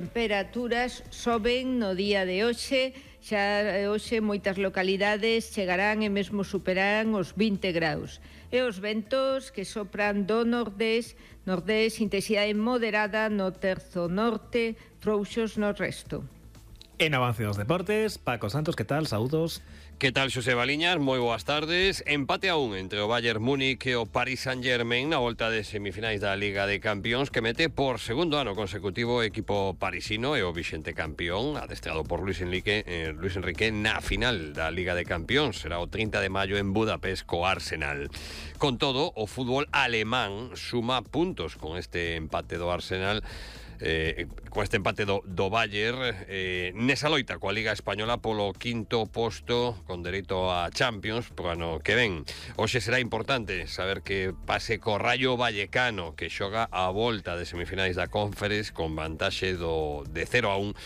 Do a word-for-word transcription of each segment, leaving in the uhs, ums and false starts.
Temperaturas soben no día de hoxe, xa hoxe moitas localidades chegarán e mesmo superarán os vinte graus. E os ventos que sopran do nordés, nordés, intensidade moderada no terzo norte, frouxos no resto. En avance dos deportes, Paco Santos, que tal? Saúdos. Que tal, Xosé Baliñas? Moi boas tardes. Empate a un entre o Bayern Múnich e o Paris Saint-Germain na volta de semifinais da Liga de Campións, que mete por segundo ano consecutivo o equipo parisino e o vixente campeón, adestrado por Luis Enrique, eh, Luis Enrique na final da Liga de Campións. Será o trinta de maio en Budapest co Arsenal. Con todo, o fútbol alemán suma puntos con este empate do Arsenal. Eh, con este empate do, do Bayern eh, nesa loita coa Liga Española polo quinto posto con dereito a Champions pro ano que ven. Hoxe será importante saber que pase co Rayo Vallecano, que xoga a volta de semifinais da Conference con vantaxe do, de cero a un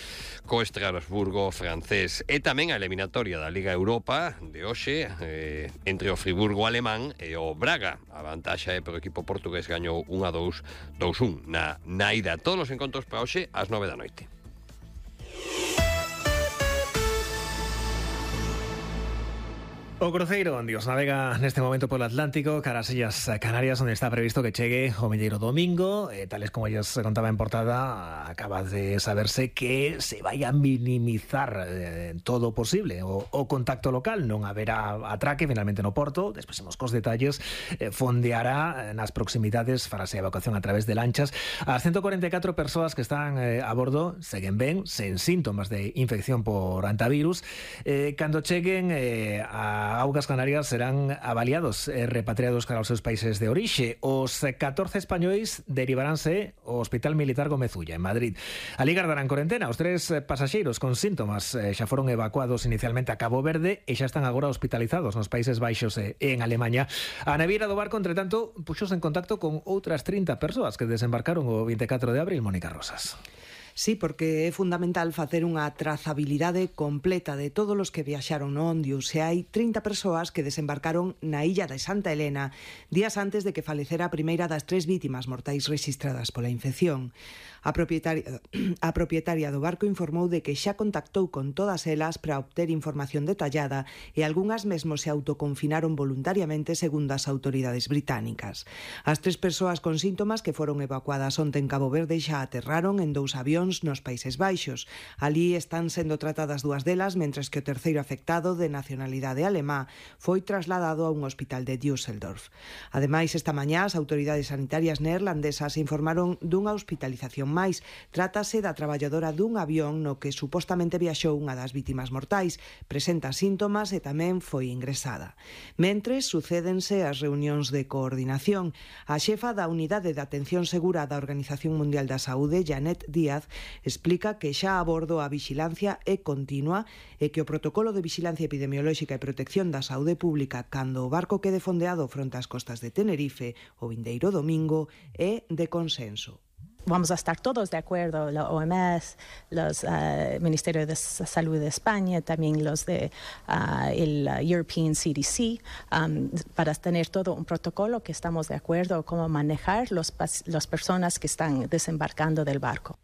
co Estrasburgo francés, e tamén a eliminatoria da Liga Europa de hoxe eh, entre o Friburgo alemán e o Braga. A vantaxe é pro equipo portugués, gañou un a dous, dous un na, na ida. Todos os encontros para hoxe ás nove da noite. O cruceiro Dios navega neste momento polo Atlántico cara ás Illas Canarias, onde está previsto que chegue o vindeiro domingo. eh, Tales como ellos contaba en portada, acaba de saberse que se vai a minimizar eh, todo o posible o, o contacto local. Non haberá atraque finalmente no porto. Despois imos cos detalles. eh, Fondeará nas proximidades, farase a evacuación a través de lanchas. As ciento cuarenta e catro persoas que están eh, a bordo seguen ben, sen síntomas de infección por antivirus. eh, Cando cheguen eh, a Augas Canarias serán avaliados e repatriados cara aos seus países de orixe. Os catorce españois derivaránse ao Hospital Militar Gómez Ulla, en Madrid. Alí gardarán corentena. Os tres pasaxeiros con síntomas eh, xa foron evacuados inicialmente a Cabo Verde e xa están agora hospitalizados nos Países Baixos e en Alemanha. A naviera do barco, entre tanto, puxose en contacto con outras trinta persoas que desembarcaron o vinte e catro de abril. Mónica Rosas. Sí, porque é fundamental facer unha trazabilidade completa de todos os que viaxaron no Ondius. E hai trinta persoas que desembarcaron na illa de Santa Helena días antes de que falecera a primeira das tres vítimas mortais rexistradas pola infección. A propietaria, a propietaria do barco informou de que xa contactou con todas elas para obter información detallada e algunhas mesmo se autoconfinaron voluntariamente segundo as autoridades británicas. As tres persoas con síntomas que foron evacuadas onte en Cabo Verde xa aterraron en dous avións nos Países Baixos. Alí están sendo tratadas dúas delas, mentres que o terceiro afectado, de nacionalidade alemá, foi trasladado a un hospital de Düsseldorf. Ademais, esta mañá as autoridades sanitarias neerlandesas informaron dunha hospitalización máis. Trátase da traballadora dun avión no que supostamente viaxou unha das vítimas mortais. Presenta síntomas e tamén foi ingresada. Mentres, sucédense as reunións de coordinación. A xefa da Unidade de Atención Segura da Organización Mundial da Saúde, Janet Díaz, explica que xa a bordo a vixilancia é continua e que o protocolo de vixilancia epidemiolóxica e protección da saúde pública cando o barco quede fondeado fronte ás costas de Tenerife o vindeiro domingo é de consenso. Vamos a estar todos de acuerdo, la O M S, los uh, Ministerios de Salud de España, también los de uh, el European C D C, um, para tener todo un protocolo que estamos de acuerdo cómo manejar los las personas que están desembarcando del barco.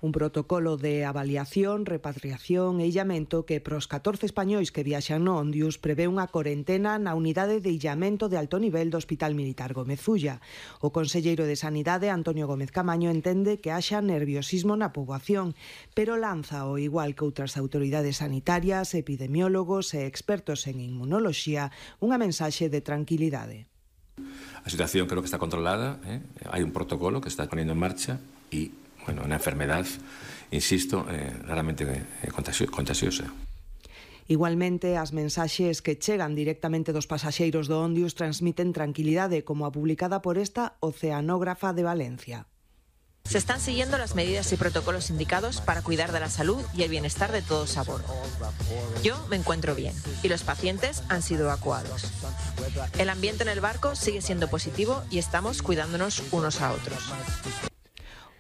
Un protocolo de avaliación, repatriación e illamento que pros catorce españois que viaxan no Ondius prevé unha corentena na unidade de illamento de alto nivel do Hospital Militar Gómez Ulla. O conselleiro de Sanidade, Antonio Gómez Camaño, entende que haxa nerviosismo na poboación, pero lanza, ao igual que outras autoridades sanitarias, epidemiólogos e expertos en inmunoloxía, unha mensaxe de tranquilidade. A situación creo que está controlada, ¿eh? Hai un protocolo que está poniendo en marcha e bueno, una enfermedad, insisto, eh, raramente eh, contagiosa. Igualmente, as mensaxes que chegan directamente dos pasaxeiros do Ondius transmiten tranquilidade, como a publicada por esta oceanógrafa de Valencia. Se están siguiendo las medidas y protocolos indicados para cuidar de la salud y el bienestar de todos a bordo. Yo me encuentro bien y los pacientes han sido evacuados. El ambiente en el barco sigue siendo positivo y estamos cuidándonos unos a otros.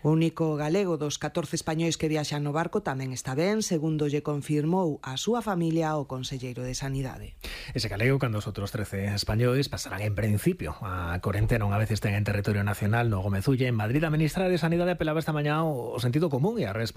O único galego dos catorce españois que viaxan no barco tamén está ben, segundo lle confirmou a súa familia o conselleiro de Sanidade. Ese galego, cando os outros trece españois pasarán en principio a corentena unha vez estén en territorio nacional no Gómez Ulla. En Madrid, a ministra de Sanidade apelaba esta mañá ao sentido común e a responsabilidade